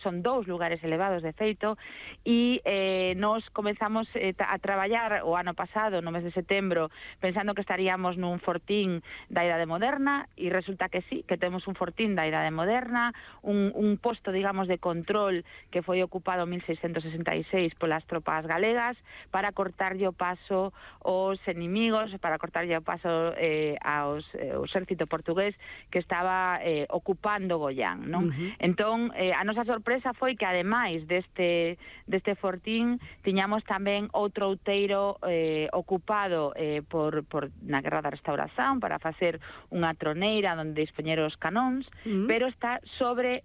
son 2 lugares elevados de feito, e nos comenzamos a traballar o ano pasado, no mes de setembro, pensando que estaríamos nun fortín da Idade Moderna, e resulta que sí, que temos un fortín da Idade Moderna, un posto, digamos, de control que foi ocupado en 1666 polas tropas galegas para cortarlle o paso aos enemigos, para cortarlle o paso ao exército portugués que estaba ocupando Goián, non? Entón, a nosa sorpresa foi que, ademais deste fortín, tiñamos tamén outro outeiro ocupado na Guerra da Restauración para facer unha troneira onde dispoñer os canóns, pero está sobre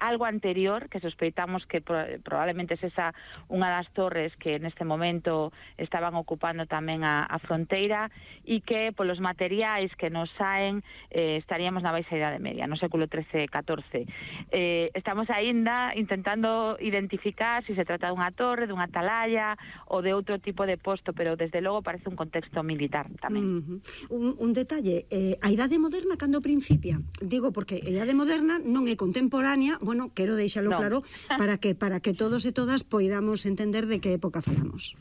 algo anterior, que sospeitamos que probablemente é esa unha das torres que neste momento estaban ocupando tamén a fronteira, e que polos materiais que nos saen estaríamos na Baixa Idade Media, no século XIII-XIV. Estamos aínda intentando identificar se trata dunha torre, dunha atalaya ou de outro tipo de posto, pero desde logo parece un contexto militar tamén. Un detalle, a Idade Moderna cando principia? Digo, porque a Idade Moderna non é contemporánea, bueno, quero deixalo claro para que todos e todas poidamos entender de que época falamos.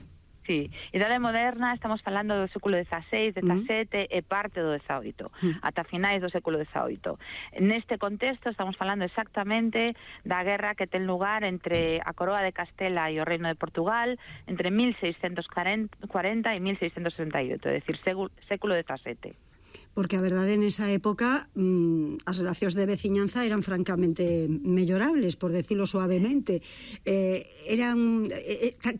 Sí, Idade Moderna estamos falando do século XVI, XVII e parte do XVIII, ata finais do século XVIII. Neste contexto estamos falando exactamente da guerra que ten lugar entre a Coroa de Castela e o Reino de Portugal entre 1640 e 1668, é dicir, século XVII. Porque a verdade, nesa época as relacións de veciñanza eran francamente mellorables, por decirlo suavemente. Que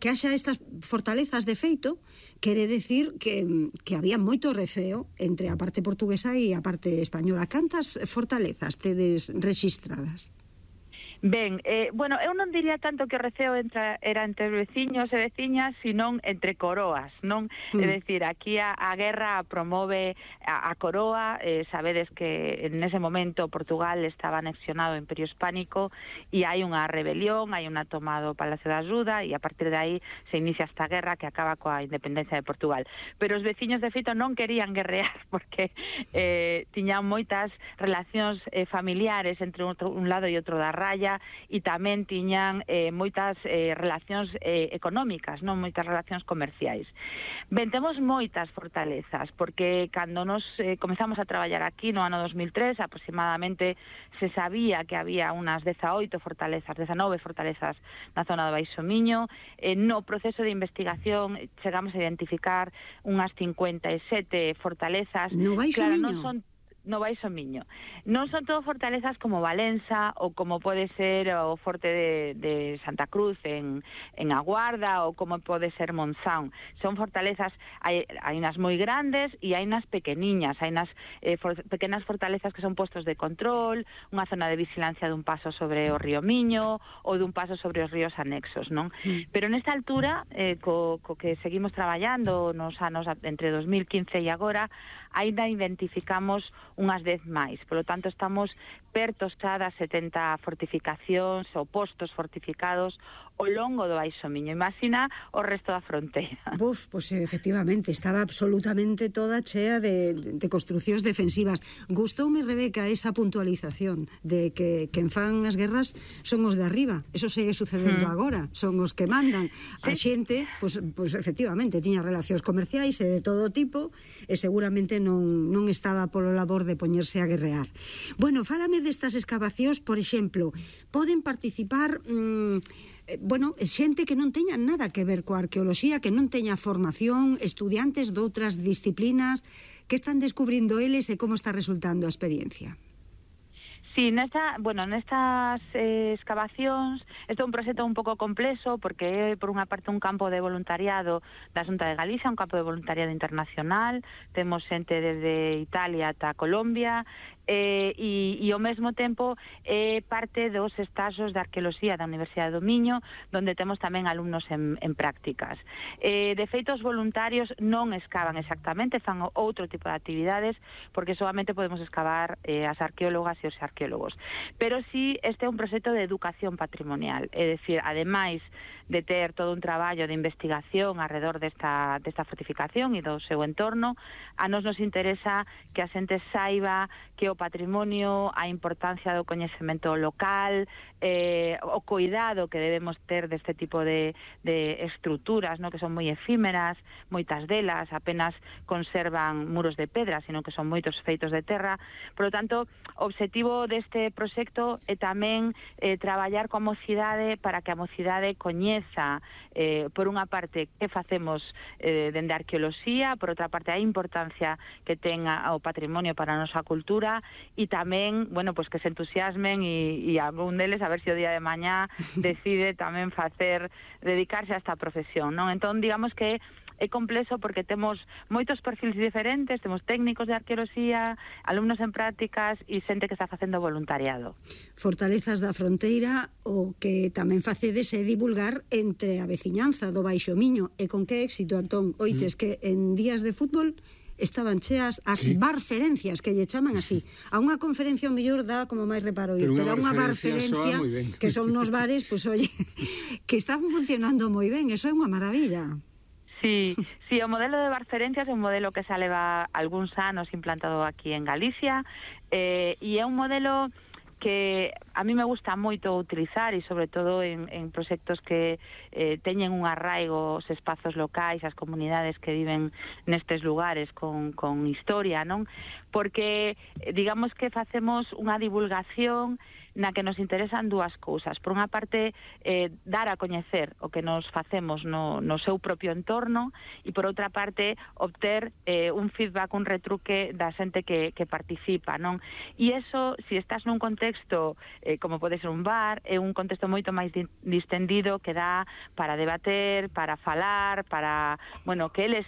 haxa estas fortalezas de feito quere decir que había moito receo entre a parte portuguesa e a parte española. Cantas fortalezas tedes rexistradas? Ben, bueno, eu non diría tanto que o receo era entre veciños e veciñas, senón entre coroas, non? É dicir, aquí a guerra promove a coroa, sabedes que en ese momento Portugal estaba anexionado ao Imperio Hispánico e hai unha rebelión, hai unha toma do Palacio da Ajuda e a partir de aí se inicia esta guerra que acaba coa independencia de Portugal. Pero os veciños de feito non querían guerrear porque tiñan moitas relacións familiares entre un lado e outro da raya, e tamén tiñan moitas relacións económicas, non, moitas relacións comerciais. Ben, temos moitas fortalezas, porque cando nos comezamos a traballar aquí no ano 2003, aproximadamente se sabía que había unas 19 fortalezas na zona do Baixo Miño. No proceso de investigación chegamos a identificar unhas 57 fortalezas. No Baixo Miño? No Baixo Miño. Non son todo fortalezas como Valença ou como pode ser o forte de Santa Cruz en A Guarda ou como pode ser Monzón. Son fortalezas, hai unas moi grandes e hai unas pequeniñas, hai unas pequenas fortalezas que son postos de control, unha zona de vigilancia dun paso sobre o río Miño ou dun paso sobre os ríos anexos, non? Pero nesta altura, co que seguimos traballando nos anos entre 2015 e agora, ainda identificamos unhas 10 máis. Por lo tanto, estamos perto xa das 70 fortificacións ou postos fortificados ao longo do Baixo Miño. Imagina o resto da fronteira. Pois efectivamente, estaba absolutamente toda chea de construcións defensivas. Gustoume, Rebeca, esa puntualización de que quen fan as guerras son os de arriba. Eso segue sucedendo agora. Son os que mandan. A xente, pois efectivamente, tiña relacións comerciais e de todo tipo e seguramente non estaba polo labor de poñerse a guerrear. Bueno, fálame destas excavacións, por exemplo, poden participar xente que non teña nada que ver coa arqueoloxía, que non teña formación, estudiantes de outras disciplinas, que están descubrindo eles e como está resultando a experiencia? Sí, nestas excavacións, isto é un proxecto un pouco complexo porque é, por unha parte, un campo de voluntariado da Xunta de Galicia, un campo de voluntariado internacional, temos xente desde Italia ata Colombia, e ao mesmo tempo é parte dos estaxos de arqueoloxía da Universidade do Miño, onde temos tamén alumnos en prácticas. De feito, os voluntarios non excavan exactamente, fan outro tipo de actividades, porque solamente podemos excavar as arqueólogas e os arqueólogos. Pero sí, este é un proxecto de educación patrimonial, é dicir, ademais de ter todo un traballo de investigación alrededor desta fortificación e do seu entorno. A nos interesa que a xente saiba que o patrimonio, a importancia do coñecemento local, o cuidado que debemos ter deste tipo de estruturas, no, que son moi efímeras, moitas delas apenas conservan muros de pedra, sino que son moitos feitos de terra. Por lo tanto, o obxectivo deste proxecto é tamén traballar coa mocidade para que a mocidade coñeza, por unha parte, que facemos dende a arqueoloxía, por outra parte, a importancia que ten o patrimonio para a nosa cultura, e tamén, bueno, pues que se entusiasmen e algún deles, a ver se o día de mañá decide tamén dedicarse a esta profesión, non? Entón, digamos que é complexo porque temos moitos perfiles diferentes, temos técnicos de arqueoloxía, alumnos en prácticas e xente que está facendo voluntariado. Fortalezas da fronteira, o que tamén facedes é divulgar entre a veciñanza do Baixo Miño. E con que éxito, Antón? Oiches que en días de fútbol estaban cheas as barferencias, que lle chaman así. A unha conferencia o mellor dá como máis reparo ir, pero a unha barferencia que son nos bares, pois oye, que están funcionando moi ben, eso é unha maravilla. Sí, o modelo de barferencias é un modelo que xa leva algúns anos implantado aquí en Galicia, e é un modelo que a mí me gusta moito utilizar, e sobre todo en proxectos que teñen un arraigo os espazos locais, as comunidades que viven nestes lugares con historia, non? Porque digamos que facemos unha divulgación na que nos interesan dúas cousas. Por unha parte, dar a coñecer o que nos facemos no seu propio entorno, e por outra parte, obter un feedback, un retruque da xente que participa, non? E iso, se estás nun contexto como pode ser un bar, é un contexto moito máis distendido que dá para debater, para falar, para, bueno, que eles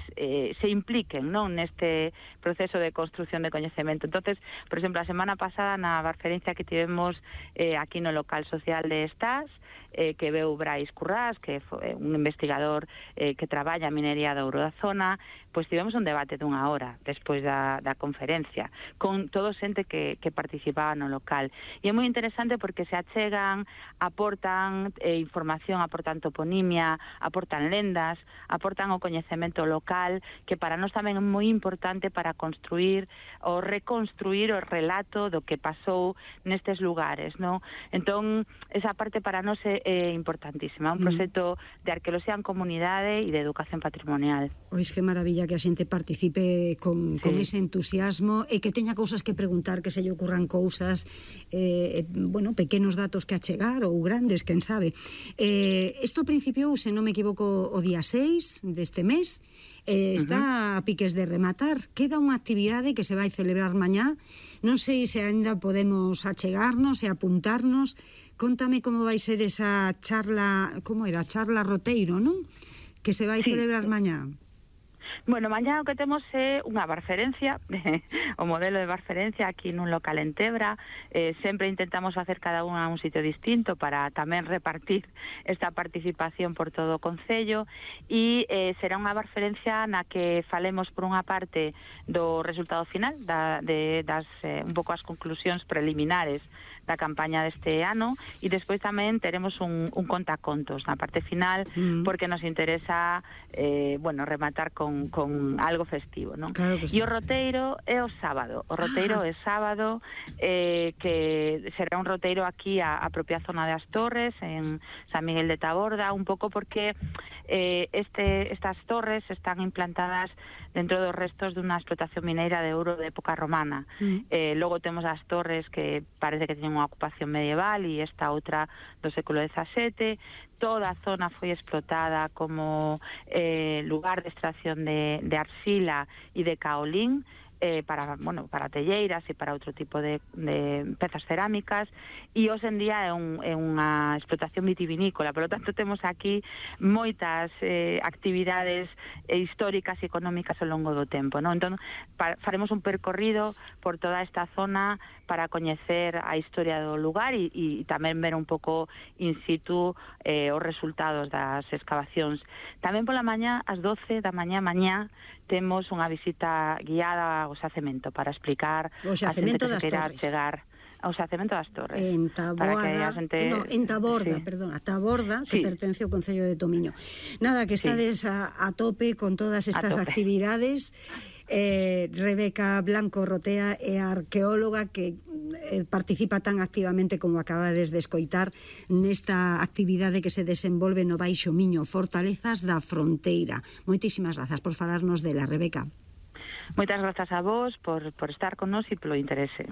se impliquen, non, neste proceso de construción de coñecemento. Entonces, por exemplo, a semana pasada na barferencia que tivemos aquí no local social de Estás, que veu Brais Currás, que é un investigador que traballa a minería de ouro da zona, pois tivemos un debate dunha hora despois da conferencia, con todo xente que participaba no local. E é moi interesante porque se achegan, aportan información, aportan toponimia, aportan lendas, aportan o coñecemento local, que para nós tamén é moi importante para construir ou reconstruir o relato do que pasou nestes lugares, non? Entón, esa parte para nós é importantísima, un proxecto de arqueoloxía en comunidade e de educación patrimonial. Pois que maravilla que a xente participe con ese entusiasmo e que teña cousas que preguntar, que se lle ocurran cousas, bueno, pequenos datos que achegar ou grandes, quen sabe. Isto principiou, se non me equivoco, o día 6 deste mes, está a piques de rematar. Queda unha actividade que se vai celebrar mañá, non sei se ainda podemos achegarnos e apuntarnos. Contame como vai ser esa charla, como era? Charla roteiro, non? Que se vai celebrar mañá. Bueno, mañá o que temos é unha barferencia, o modelo de barferencia aquí nun local en Tebra. Sempre intentamos facer cada unha a un sitio distinto para tamén repartir esta participación por todo o concello, e será unha barferencia na que falemos por unha parte do resultado final, un pouco as conclusións preliminares da campaña deste ano, e despois tamén teremos un contacontos na parte final, porque nos interesa bueno, rematar con algo festivo, non? Claro que sí. E o roteiro é o sábado. O roteiro é sábado, que será un roteiro aquí a propia zona de As Torres, en San Miguel de Taborda, un pouco porque estas torres están implantadas dentro dos restos dunha explotación mineira de ouro de época romana. Logo temos as torres que parece que teñen unha ocupación medieval, e esta outra do século XVII. Toda a zona foi explotada como lugar de extracción de arxila e de caolín, para telleiras e para outro tipo de pezas cerámicas, e hoxe en día é unha explotación vitivinícola. Por lo tanto, temos aquí moitas actividades históricas e económicas ao longo do tempo, non? Entón, faremos un percorrido por toda esta zona para coñecer a historia do lugar e tamén ver un pouco in situ os resultados das excavacións. Tamén pola mañá, ás 12 da mañá, temos unha visita guiada ao xacemento para explicar o xacemento a xente que das queira Torres. chegar O xacemento das Torres. En Taboada, en Taborda, perdona, Taborda, que pertence ao Concello de Tomiño. Nada, que estades a tope con todas estas actividades. Rebeca Blanco Rotea é a arqueóloga que participa tan activamente como acabades de escoitar nesta actividade que se desenvolve no Baixo Miño, Fortalezas da Fronteira. Moitísimas grazas por falarnos dela, Rebeca. Moitas grazas a vos por estar con nós e polo interese.